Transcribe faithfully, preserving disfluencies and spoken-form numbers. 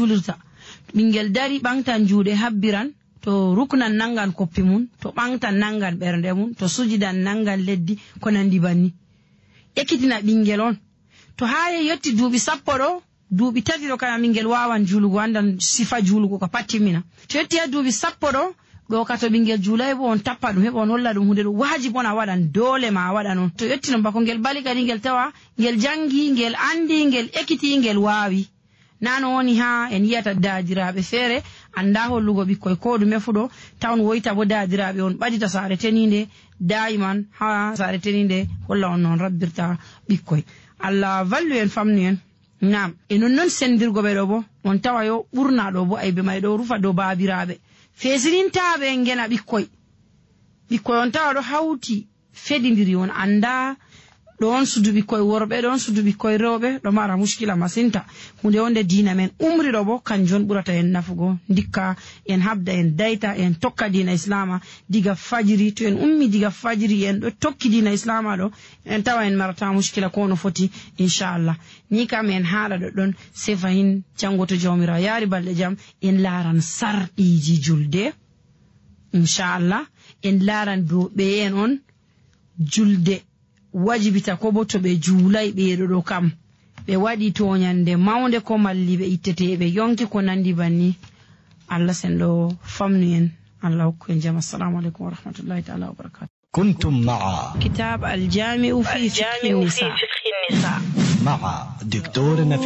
juulirta. Ɓinngel dari ɓaŋgtan juuɗe habbiran, to ruknan nanngan koppi mum, to ɓaŋgtan nanngan ɓernde mum, to sujidan nanngan leddi, ko nanndi banni. Ekkitina ɓinngel on. To haa yetti duuɓi sappo ɗo, duuɓi tati ɗo kala ɓinngel waawan juulugo, anndan sifa juulugo ka pat timmina. To yetti haa duuɓi sappo ɗo, ɗo ka to ɓinngel juulay bo on tappa ɗum, heɓa on holla ɗum huunde ɗum waajib on a waɗan, doole ma a waɗan on. To yetti non bako ngel bali kadi ngel tawa, ngel janngi, ngel anndi, ngel ekiti, ngel waawi. Naa no woni haa en yiyata daadiraaɓe feere, annda hollugo ɓikkoy ko ɗume fu ɗo, tawon woyta bo daadiraaɓe on ɓadita saare teniinde, daayiman haa saare teniinde holla on no on rabbirta ɓikkoy. Allah vallu en, famnu en. Naam, e non non senndirgo ɓe ɗo bo, on tawa yo ɓurna ɗo bo aybe may ɗo rufa dow baabiraaɓe. Feesirintaaɓe en ngena ɓikkoy. Ɓikkoy on tawa ɗo hawti fedindiri, on annda ɗo on sudu ɓikkoy worɓe, ɗo on sudu ɓikkoy rewɓe, ɗo mara muskila masinta. Huunde wonde diina men umri ɗo bo, kanjum on ɓurata en nafugo. Ndikka en habda, en dayta, en tokka diina Islaama diga fajiri. To en ummi diga fajiri, en ɗo tokki diina Islaama ɗo, en tawa en marata muskila ko no foti, inchallah. Ni kam en haaɗa ɗo ɗon, sey fahin janngo to Jawmiraawo yaari balɗe jam, en laaran sarɗiiji julde. Inchallah, en laaran dow ɓeyen on julde wajibita ko bo to ɓe juulay ɓeeɗo ɗo kam. Ɓe waɗi tooñannde mawnde ko malli ɓe itteteeɓe yonki ko nanndi banni. Allah senɗo famnu en, Allah hokku en jam. Assalamu aleykum wa rahmatullahi taala wa barakatuh. كنتم مع كتاب الجامع في فقه النساء. مع دكتور نفيس.